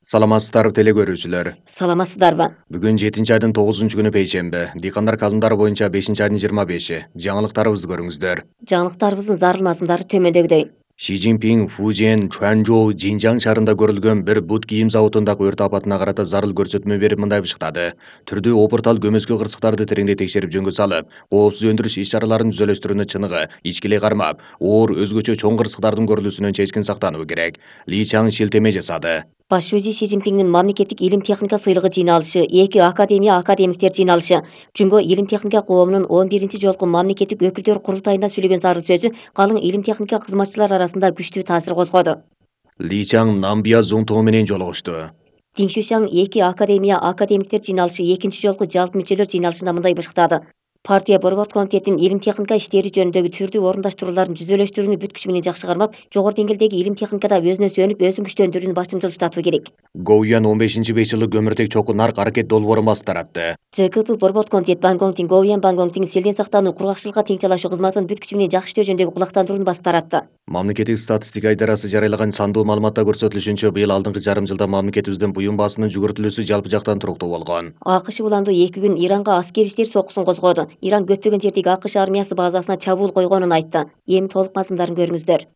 Саламатсыздарбы теле көрүүчүлөр. Саламатсыздарбы? Бүгүн 7-айдын 9-күнү пейшемби. Дыйкандар календары боюнча 5-айдын 25-и. Жаңылыктарыбызды көрүңүздөр. Жаңылыктарыбыздын зарыл мазмундары төмөндөгүдөй. Ши Цзиньпин Фужен, Чуанчжоу, Жинжан шаарында көрүлгөн бир бут кийим заводундагы өрт апатына карата зарыл көрсөтмө берип мындай бышыктады. Түрдүү опуртал көмөскө кырсыктарды тереңдей текшерип жөнгө салып, коопсуз өндүрүш иш-чараларын түзөлөштүрүүнү чыныгы, ичкилей кармап, оор өзгөчө чоң кырсыктардын көрүлүүсүнөн чечкин сактануу керек. Ли Чаң шилтеме жасады. Баш өзи Ши Цзиньпиндин мамлекеттик илим техника сыйлыгы жыйналышы, 2 академиктер жыйналышы, Жөнгө илим техника коомунун 11-ci жолку мамлекеттик өкүлдөр курултайында сүйлөгөн зарыл сөзү калың илим техника кызматчылар арасында күчтүү таасир козгоду. Ли Чаң Намбия Зунтоо менен жолугушту. Диншушаң 2 академиктер жыйналышы 2-ci жолку жалпы мүчөлөр жыйналышында мындай бышыктады. Партия борбордук комитетинин илим техника иштери жөнүндөгү түрдүү орундаштырууларын түзөлөштүрүүнү бүт күчү менен жакшы кармап, жогору деңгээлдеги илим техникада өзүнө сүйөнүп, өзүн күчтөндүрүүнү башым жылыштатуу керек. Гоуян 15-5 жылы көмүртек чокку нарк аракет долбоорун басы таратты. ЖКП борбордук комитет Бангонгтин Гоуян Бангонгтин селден сактануу, кургакчылыкка тең талашуу кызматын бүт күчү менен жакшы иштөө жөнүндөгү кулактандырууну басы таратты. Мамлекеттик статистика идарасы жарыялаган сандуу маалыматта көрсөтүлүшүнчө, быйыл алдыңкы жарым жылда мамлекетибиздин буюм баасынын жүгүртүлүүсү жалпы жактан туруктуу болгон. АКШ уланды 2 күн Иранга аскери иштер соккусун козгоду. Иран көптөгөн жердеги АКШ армиясы базасына чабуул койгонун айтты. Эми толук мазмундарын көрүңүздөр.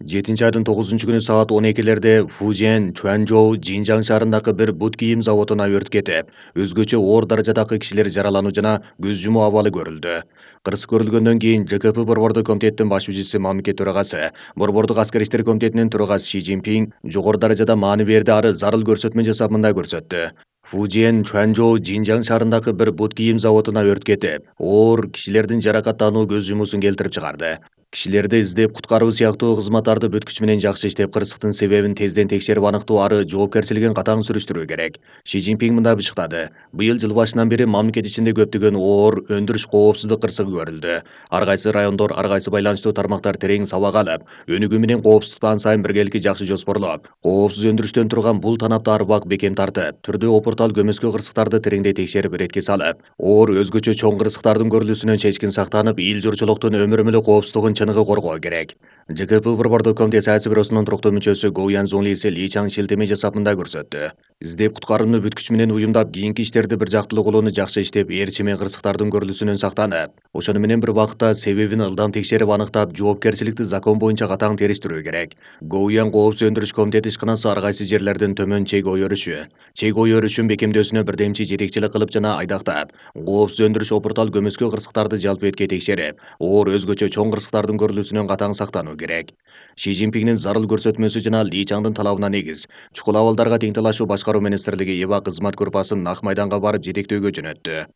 7-айдын 9-күнү саат 12-лерде Фужен, Чуанчжоу, Жинжан шаарындагы бир бут кийим заводуна өрт кетип, өзгөчө оор даражадагы кишилер жаралануу жана көз жумуу абалы көрүлдү. Кырсык көрүлгөндөн кийин ЖКП борбордук комитеттин баш жүзүчүсү мамлекет төрагасы, борбордук аскер иштер комитетинин төрагасы Ши Цзиньпин жогору даражада маани берди, ары зарыл көрсөтмө жасап мындай көрсөттү. Фужен, Чуанчжоу, Жинжан шаарындагы бир бут кийим заводуна өрт кетип, оор кишилердин жаракаттануу көз жумуусун келтирип чыгарды. Кишилерди издеп куткаруу сыяктуу кызматтарды бүт күчү менен жакшы иштеп, кырсыктын себебин тезден текшерип аныктоо, ары жоопкерчилигин катаң сүрүштүрүү керек. Ши Цзиньпин мындай бышыктады. Быйыл жыл башынан бери мамлекет ичинде көптөгөн оор өндүрүш коопсуздук кырсыгы көрүлдү. Ар кайсы райондор, ар кайсы байланыштуу тармактар терең сабак алып, өнүгүү менен коопсуздукту ан сайын биргеликти жакшы жоспорлоп, коопсуз өндүрүштөн турган бул танапты ар убак бекем тартып, түрдүү опуртал көмөскө кырсыктарды тереңдей текшерип, иретке салып, оор өзгөчө чоң кырсыктардын көрүлүүсүнөн чечкин сактанып, эл журчулуктун өмүрүмүлү коопсуздугун чыныгы коргоо керек. ЖКП борбордук комитет саясий бюросунун туруктуу мүчөсү Гоуян Зунлиси Ли Чаң шилтеме жасап мындай көрсөттү. Издеп куткарууну бүт күчү менен уюмдап, кийинки иштерди бир жактылуу кылууну жакшы иштеп, ээрчиме кырсыктардын көрүлүүсүнөн сактанып, ошону менен бир убакытта себебин ылдам текшерип аныктап, жоопкерчиликти закон боюнча катаң териштирүү керек. Гоуян коопсуз өндүрүш комитети ишканасы ар кайсы жерлердин төмөн чек ой өрүшүн бекемдөөсүнө бирдемчи жетекчилик кылып жана айдактап, коопсуз өндүрүш опуртал көмөскө кырсыктарды жалпы этке текшерип, оор өзгөчө чоң кырсыктардын көрүлүүсүнөн катаң сактануу керек. Ши Цзиньпиндин зарыл көрсөтмөсү жана Ли Чаңдын талабына негиз, чукул абалдарга тең талашуу башкаруу министрлиги ИВА кызмат группасын Нак майданга барып жетектөөгө жөнөттү.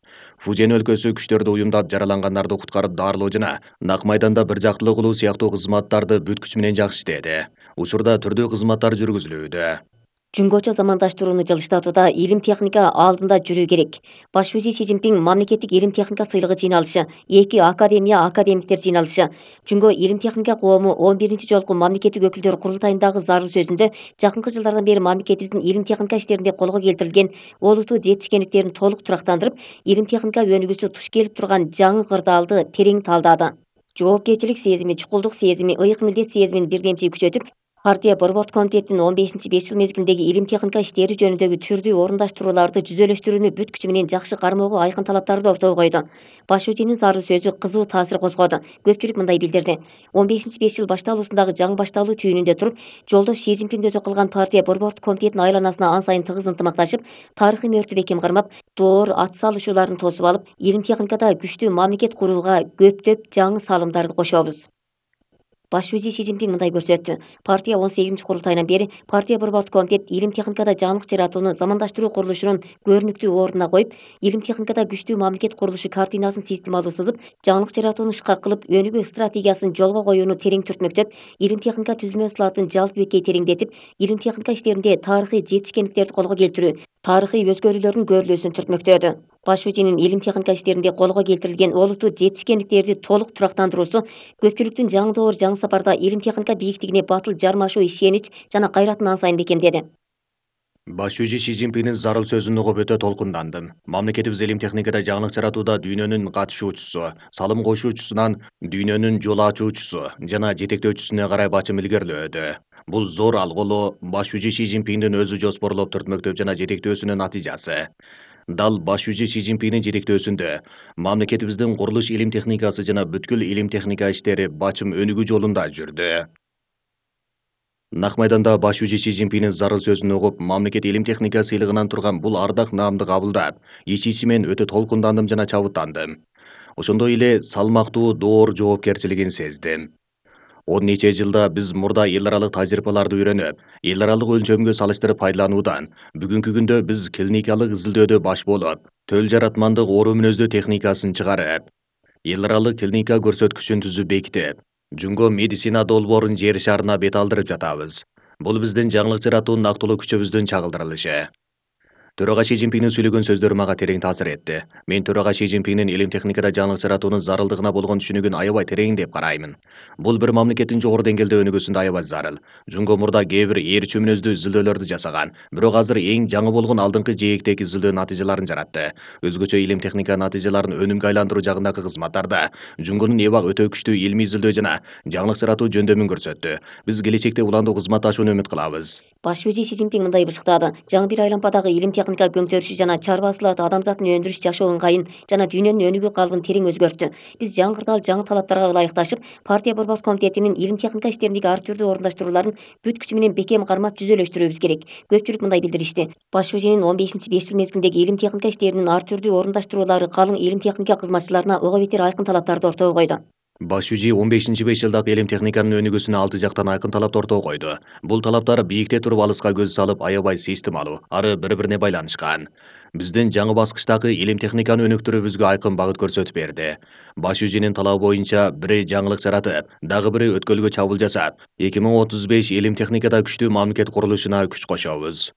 Фужен өлкөсү күчтөрдү уюмдап, жаралангандарды куткарып дарылоо жана Нак майданда бир жактылуу кылуу сыяктуу кызматтарды бүт күчү менен жакшы иштеди. Учурда түрдүү кызматтар жүргүзүлүүдө. Жөнгөчө замандаштырууну жылыштатууда илим техника алдында жүрүү керек. Баш өзи Ши Цзиньпин мамлекеттик илим техника сыйлыгы жыйналышы, 2 академиктер жыйналышы, Жөнгө илим техника коому 11-ci жолку мамлекеттик өкүлдөр курултайындагы зарыл сөзүндө жакынкы жылдардан бери мамлекетибиздин илим техника иштеринде колго келтирилген олуттуу жетишкендиктерин толук турактандырып, илим техника өнүгүүсү туш келип турган жаңы кырдаалды терең талдаады. Жоопкерчилик сезими, чукулдук сезими, ыйык милдет сезимин бирдемчи күчөтүп, партия борбордук комитетинин 15-5 жыл мезгилиндеги илим техника иштери жөнүндөгү түрдүү орундаштырууларды түзөлөштүрүүнү бүт күчү менен жакшы кармоого айкын талаптарды ортого койду. Баш өзүнүн зарыл сөзү кызуу таасир козгоду. Көпчүлүк мындай билдирди. 15-5 жыл башталуусундагы жаңы башталуу түйүнүндө туруп, жолдош Ши Цзиньпин өзү кылган партия борбордук комитетинин айланасына ан сайын тыгыз ынтымакташып, тарыхый мөөртү бекем кармап, доор ат салышууларын тосуп алып, илим техникада күчтүү мамлекет курууга көптөп жаңы салымдарды кошобуз. Баш өзи Ши Цзиньпин мындай көрсөттү. Партия 18 курултайынан бери партия борбордук комитет илим техникада жаңылык жаратууну замандаштыруу курулушунун көрүнүктүү ордуна коюп, илим техникада күчтүү мамлекет курулушу картинасын системалуу сызып, жаңылык жаратууну ышка кылып, өнүгүү стратегиясын жолго коюуну терең түртмөктөп, илим техника түзүлмө ысылатын жалпы беткей тереңдетип, илим техника иштеринде тарыхый жетишкендиктерди колго келтирүү, тарыхый өзгөрүүлөрдүн көрүлүүсүн түртмөктөдү. Баш өзүнүн илим техника иштеринде колго келтирилген олуттуу жетишкендиктерди толук турактандыруусу көпчүлүктүн жаңы доор, жаңы сапарда илим техника бийиктигине батыл жармашуу ишенич жана кайратын ан сайын бекемдеди. Баш өзи Ши Цзиньпиндин зарыл сөзүн угуп өтө толкундандым. Мамлекетибиз илим техникада жаңылык жаратууда дүйнөнүн катышуучусу, салым кошуучусунан дүйнөнүн жол ачуучусу жана жетектөөчүсүнө карай бачым илгерилөөдө. Бул зор алгылуу баш жүзү Си Цзиньпиндин өзү жоспорлоп түртмөктөп жана жетектөөсүнүн натыйжасы. Дал баш жүзү Си Цзиньпиндин жетектөөсүндө мамлекетибиздин курулуш илим техникасы жана бүткүл илим техника иштери бачым өнүгүү жолунда жүрдү. Нак майданда баш жүзү Си Цзиньпиндин зарыл сөзүн угуп, мамлекет илим техника сыйлыгынан турган бул ардак наамды кабылдап, ич-ичимен өтө толкундандым жана чабыттандым. Ошондой эле салмактуу доор жоопкерчилигин сездим. 10 нече жылда биз мурда эл аралык тажрыйбаларды үйрөнүп, эл аралык өлчөмгө салыштырып пайдалануудан, бүгүнкү күндө биз клиникалык изилдөөдө баш болуп, төл жаратмандык оору мүнөздүү техникасын чыгарып, эл аралык клиника көрсөткүчүн түзүп бекитип, Жунго медицина долбоорун жер шарына бет алдырып жатабыз. Бул биздин жаңылык жаратуу нактылуу күчөбүздүн чагылдырылышы. Төрага Си Цзиньпиндин сүйлөгөн сөздөрү мага терең таасир этти. Мен төрага Си Цзиньпиндин илим техникада жаңылык жаратуунун зарылдыгына болгон түшүнүгүн аябай терең деп караймын. Бул бир мамлекеттин жогору деңгээлде өнүгүүсүндө аябай зарыл. Жунго мурда кээ бир ээрчүү мүнөздүү изилдөөлөрдү жасаган, бирок азыр эң жаңы болгон алдыңкы жээктеги изилдөө натыйжаларын жаратты. Өзгөчө илим техника натыйжаларын өнүмгө айландыруу жагындагы кызматтарда Жунгонун эбак өтө күчтүү илмий изилдөө жана жаңылык жаратуу жөндөмүн көрсөттү. Биз келечекте уландуу кызматташууну үмүт кылабыз. Баш вазир Си Цзиньпин мындай бышыктады: жаңы бир айлампадагы илим техника көңтөрүшү жана чарбаачылык адамзаттын өндүрүш жашоо ыңгайын жана дүйнөнүн өнүгүү калыбын терең өзгөрттү. Биз жаңы жаңы талаптарга ылайыкташып, партия борбор комитетинин илим техника иштериндеги ар түрдүү орундаштырууларын бүт күчү менен бекем кармап жүзөлөштүрүүбүз керек. Көпчүлүк мындай билдиришти: баш вазиринин 15 5 жыл мезгилиндеги илим техника иштеринин ар түрдүү орундаштыруулары калың илим техника кызматчыларына ого бетер айкын талаптарды ортого койду. Баш жүзү 15-5 жылдагы илим техниканын өнүгүүсүнө 6 жактан айкын талапты ортого койду. Бул талаптар бийикте туруп алыска көз салып, аябай системалуу, ары бири-бирине байланышкан. Биздин жаңы баскычтагы илим техниканы өнүктүрүүбүзгө айкын багыт көрсөтүп берди. Баш жүзүнүн талабы боюнча бири жаңылык жаратып, дагы бири өткөлгө чабуул жасап, 2035 илим техникада күчтүү мамлекет курулушуна күч кошобуз.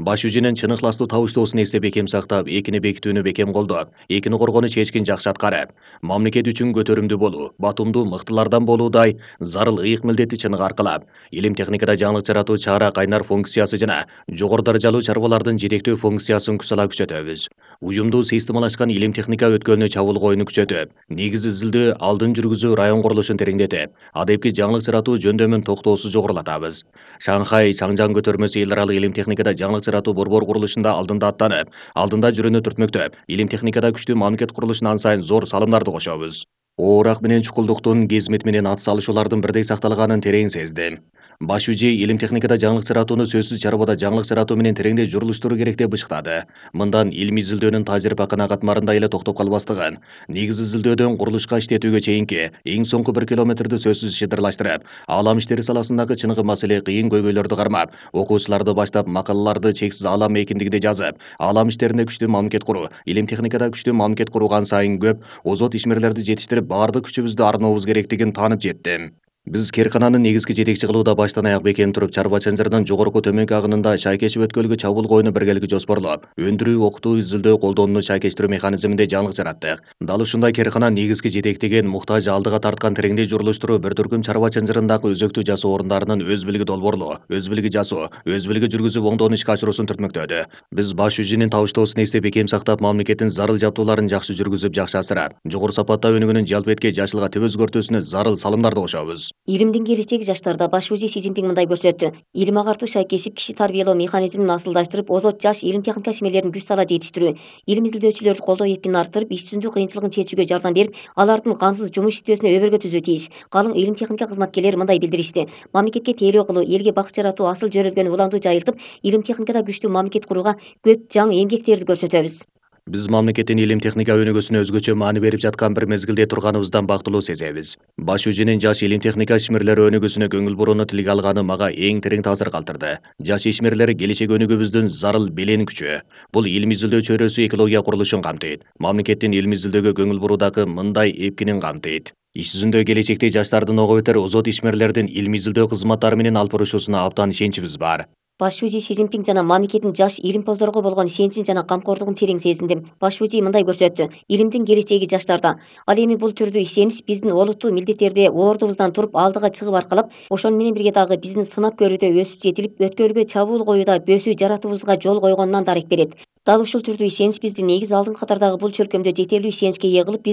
Баш жүзүнүн чын ыхластуу табыштоосун эсте бекем сактап, экини бекитүүнү бекем колдоп, экини коргоону чечкин жакшы аткарып, мамлекет үчүн көтөрүмдүү болуу, батумдуу мыктылардан болуудай зарыл ыйык милдетти чыныгы аркылап, илим техникада жаңылык жаратуу чара кайнар функциясы жана жогору даражалуу чарбалардын жетектөө функциясын күч күчөтөбүз. Уюмдуу системалашкан илим техника өткөлүнө чабуул коюуну күчөтүп, негиз изилдөө, алдын жүргүзүү район курулушун тереңдетип, адепки жаңылык жаратуу жөндөмүн токтоосуз жогорулатабыз. Шанхай Чаңжаң көтөрмөсү эл аралык илим техникада жаңылык жаратуу борбор курулушунда алдында аттанып, алдында жүрүүнү түртмөктөп, илим техникада күчтүү мамлекет курулушуна ан сайын зор салымдарды кошобуз. Оорак менен чукулдуктун, кезмет менен ат салышуулардын бирдей сакталганын терең сездим. Баш жүзү илим техникада жаңылык жаратууну сөзсүз чарбада жаңылык жаратуу менен тереңдей журулуштуруу керек деп бышыктады. Мындан илимий изилдөөнүн тажрыйба канагатмарында эле токтоп калбастыгын, негиз изилдөөдөн курулушка иштетүүгө чейинки эң соңку 1 километрди сөзсүз шыдырлаштырып, аалам иштери саласындагы чыныгы маселе кыйын көйгөйлөрдү кармап, окуучуларды баштап макалаларды чексиз аалам эркиндигиде жазып, аалам иштеринде күчтүү мамлекет куруу, илим техникада күчтүү мамлекет курууган сайын көп озот ишмерлерди жетиштирип, баардык күчүбүздү арнообуз керектигин таанып жеттим. Биз Керкананы негизги жетекчи кылууда баштан аяк бекем туруп, чарба чанжырдын жогорку төмөнкү агынында шайкечип өткөлгө чабуул коюуну биргеликте жоспорлоп, өндүрүү, окутуу, изилдөө, колдонууну шайкештирүү механизминде жаңылык жараттык. Дал ушундай Керкана негизги жетектеген, муктаж алдыга тарткан тереңдей журулуштуруу бир түркүм чарба чанжырындагы өзөктүү жасоо орундарынын өз билиги долбоорлоо, өз билиги жасоо, өз билиги жүргүзүп оңдоону ишке ашыруусун түртмөктөдү. Биз баш жүзүнүн табыштоосун эсте бекем сактап, мамлекеттин зарыл жабдууларын жакшы жүргүзүп, жакшы асырап, жогору сапатта өнүгүүнүн жалпы этке жашылга теп өзгөртүүсүнө зарыл салымдарды кошобуз. Илимдин келечеги жаштарда. Баш вазир Си Цзиньпин мындай көрсөттү: илим агартуу шайкешип, киши тарбиялоо механизмин асылдаштырып, озот жаш илим техника ишмерлерин күч сала жетиштирүү, илим изилдөөчүлөрдү колдоо эркинин арттырып, иш жүзүндө кыйынчылыгын чечүүгө жардам берип, алардын камсыз жумуш иштөөсүнө өбөлгө түзүү тийиш. Калың илим техника кызматкерлери мындай билдиришти: мамлекетке тейлөө кылуу, элге бакыт жаратуу асыл жөрөлгөнү уламдуу жайылтып, илим техникада күчтүү мамлекет курууга көп жаңы эмгектерди көрсөтөбүз. Биз мамлекеттин илим техника өнүгүүсүнө өзгөчө маани берип жаткан бир мезгилде турганыбыздан бактылуу сезебиз. Баш жүзүнүн жаш илим техника ишмерлери өнүгүүсүнө көңүл бурууну тилге алганы мага эң терең таасир калтырды. Жаш ишмерлер келечек өнүгүүбүздүн зарыл белен күчү. Бул илим изилдөө чөйрөсү экология курулушун камтыйт. Мамлекеттин илим изилдөөгө көңүл буруудагы мындай эпкинин камтыйт. Иш жүзүндө келечекте жаштардын ого бетер озот ишмерлердин илим изилдөө кызматтары менен алып барышуусуна абдан ишеничибиз бар. Баш вазир Си Цзиньпин жана мамлекеттин жаш илимпоздорго болгон ишеничин жана камкордугун терең сезиндим. Баш вазир мындай көрсөттү: илимдин келечеги жаштарда. Ал эми бул түрдүү ишенич биздин олуттуу милдеттерди ордубуздан туруп алдыга чыгып аркалап, ошону менен бирге дагы биздин сынап көрүүдө өсүп жетилип, өткөлгө чабуул коюуда бөсүү жаратуубузга жол койгонунан дарек берет. Дал ушул түрдүү ишенич бизди негиз алдыңкы катардагы бул чөлкөмдө жетерлүү ишеничке ээ кылып, бизди